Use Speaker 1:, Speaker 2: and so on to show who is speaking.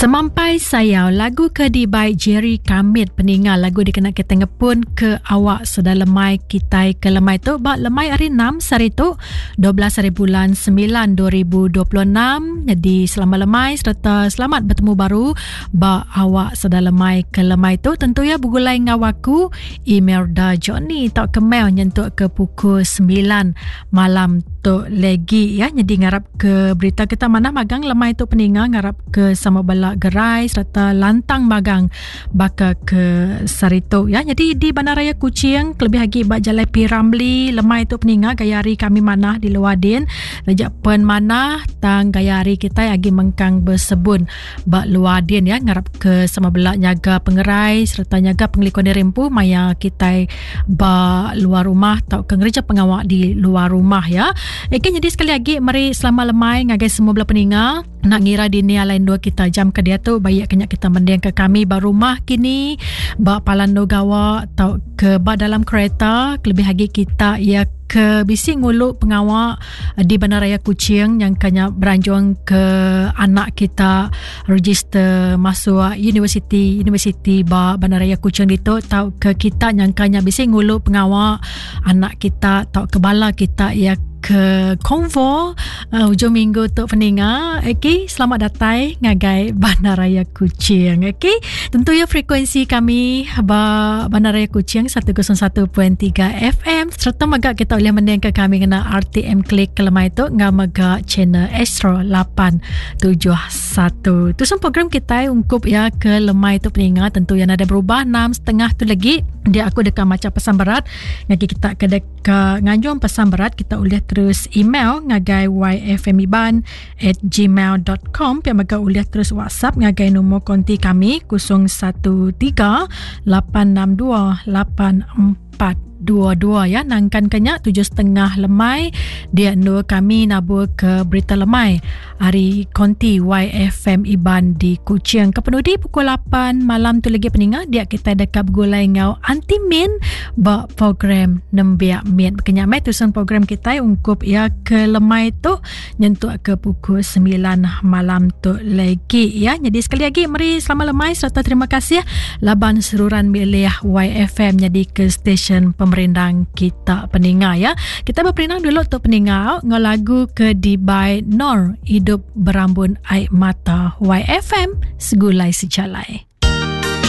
Speaker 1: Semampai sayau lagu ke dibai Jerry Kamit peninga lagu dikena kita ngepun ke awak seda lemai kitai ke lemai tu ba lemai hari 6 sehari tu 12 hari bulan 9 2026 jadi selamat lemai sereta selamat betemu baru ba awak seda lemai ke lemai tu tentu ya begulai enggau aku Imelda Johnny tau ke mail nyentuk ke pukul 9 malam tu legi ya jadi ngarap ke berita kita manah magang lemai tu peninga ngarap ke sama bela gerai serta lantang magang baka ke saritu ya jadi di Bandaraya Kuching kelebih agi ba Jalai P Ramli lemai tu peninga gaya hari kami manah di luar din taja pen manah tang gaya hari kitai agi mengkang bersebun ba luar din ya ngarap ke sama bela nyaga pengerai serta nyaga pengelikun diri empu maya kitai ba luar rumah tauka ngereja pengawa di luar rumah ya. Eke nyadi sekali agi meri selamat lemai ngagai semua bela peninga. Nak ngira dini alai endur kita jam ke diatu baik kenya kita mending ke kami ba rumah kini ba palan endur gawa tauka ba dalam kereta kelebih agi kita ya ke bisi ngulu pengawa di Bandaraya Kuching yang kanya beranjung ke anak kita register masuk universiti universiti ba Bandaraya Kuching ditu tau ke kita nyangkanya bisi ngulu pengawa anak kita tau ke bala kita ya ke konvo uh, ujung minggu tu peninga. Okey, selamat datai ngagai Bandaraya Kuching. Okey, tentu ya frekuensi kami ba Bandaraya Kuching 101.3 FM serta mega kita boleh mending ke kami ngena RTM Klik ke lemai tu ngau mega channel Astro 871. Tu semua program kita ungkup ya ke lemai tu peninga tentu yang ada berubah 6.30 tu lagi dia aku deka maca pesan berat ngagai kita ke deka nganjung pesan berat kita ulih terus email ngagai yfmiban at gmail.com pia mega ulih terus whatsapp ngagai nombor konti kami 013 862 84 22 ya nangkan kenya 7.30 lemai dia endur kami nabur ke berita lemai hari konti YFM Iban di Kuching ke penudi pukul 8 malam tu lagi peninga dia kita dekat begulai ngau Aunty Min ba program Nembiak Mit kenya mai tusun program kita ungkup ya ke lemai tu nyentuk ke pukul 9 malam tu lagi ya. Jadi sekali lagi meri selamat lemai serta terima kasih laban seruran milih YFM jadi ke stesen pemerindang kita peninga ya. Kita berperindang dulu tu peninga ngau lagu ke di by Nor Hidup Berambun Air Mata YFM Segulai Sejalai.